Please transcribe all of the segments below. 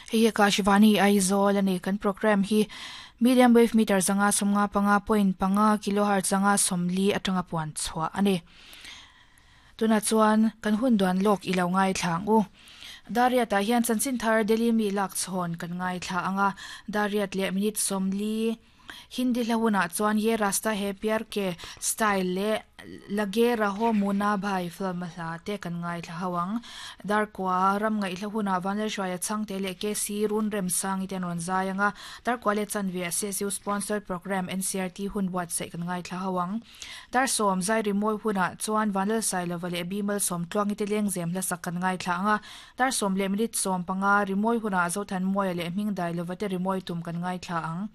Hei hi Akashvani Aizawl a ni. Kan programme hi medium wave meter 155.5 kilohertz 140 atanga puan chhuah a ni. Tunah chuan kan hun duan lawk i lo ngaithla ang u. Dariat ah hian chanchin thar Delhi mi lak chhawn kan ngaithla ang a, Dariat leh minute 40 Hindi hla hunah chuan Ye Rasta Hai Pyar Ke style leh Lage Raho Munna Bhai film a hla te kan ngaithla ho ang. Darkua ram ngaihhla hunah Vanlalhruaia Chhangte leh KC Runremsangi te an rawn zai ang a, Darkua leh chanve a CSU sponsored programme NCRT hun buatsaih kan ngaithla ho ang. Darsawm zai rimawi hunah chuan Vanlalsailova leh Bimal Sawmtluangi te lengzem hlasak kan ngaithla ang a, Darsawm leh minute 15 rimawi hunah Zothanmawia leh Hmingdailova te rimawi tum kan ngaithla ang.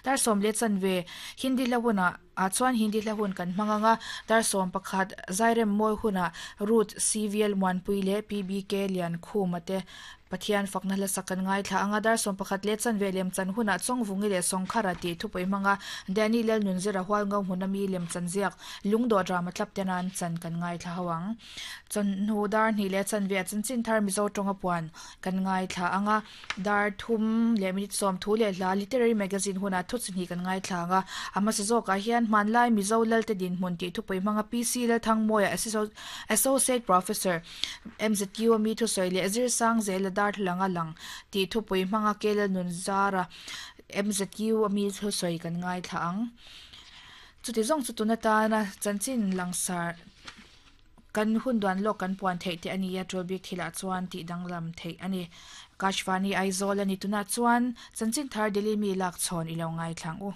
Darsawm leh chanve Hindi hla hunah ah chuan Hindi hla hun kan hmang ang a, Darsawm pakhat Zairem mawi hunah Ruth CVL Muanpui leh PBK Liankhuma te Pathian fakna hlasak kan ngaithla ang a, dar 11 leh chanve lemchan hunah Chawngvungi leh Sawngkhara tih thupui hmanga Danny Lalnunzira Hualngo hmuna mi lemchan ziak Lungdawh drama tlap te nan chan kan ngaithla ho ang. Chawnhnu dar hnih leh chanve a chanchin thar Mizo tawnga puan kan ngaithla ang a, dar thum leh minute 30 leh hla Literary Magazine hunah thu chi hnih kan ngaithla ang a, a hmasa zawkah hian hmanlai Mizo Lalte dinhmun tih thupui hmanga PC Lalthangmawia Associate Professor MZU a mi thusawi leh Zirsang zela darthlalang a lang tih thupui hmanga Kelal nun zara MZU a mi thusawi kan ngaithla ang. Chuti zawng chu tun atana chanchin langsar kan hun duan lawk kan puan theih te a ni a, tul bik thilah chuan tih danglam theih a ni. Kashvani Aizawl a ni tunah chuan chanchin thar Delhi mi lak chhawn i lo ngaithla ang u.